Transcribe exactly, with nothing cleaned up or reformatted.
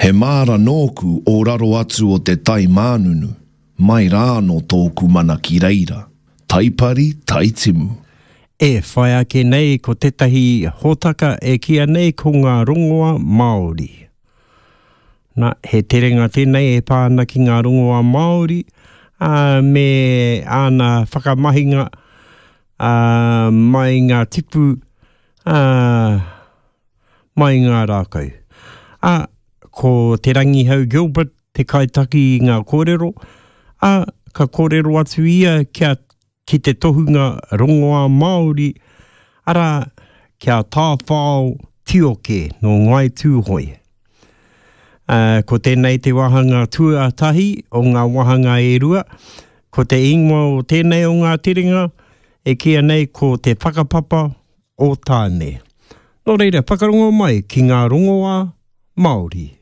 He māra nōku o raro atu o te tai mānunu, mai rā anō tōku mana ki reira, taipari, taitimu. E whai ake nei ko tētahi hōtaka e kīia nei ko ngā rongoā Māori. Nā, he terenga tēnei e pā ana ki ngā rongoā Māori, ā, me āna whakamahinga, ā, mai ngā tipu, ā, mai ngā rākau. Ā, ko Te Rangihau Gilbert te kaitaki i ngā kōrero, ā, ka kōrero atu ia kia, ki te tohunga rongoā Māori, arā, ki a Tāwhao Tioke nō Ngāi Tūhoe. Ā, ko tēnei te wāhanga tuatahi o ngā wāhanga e rua, ko te ingoa o tēnei o ngā terenga e kīia nei ko Te Whakapapa o Tāne. Nō reira, whakarongo mai ki ngā rongoā Māori.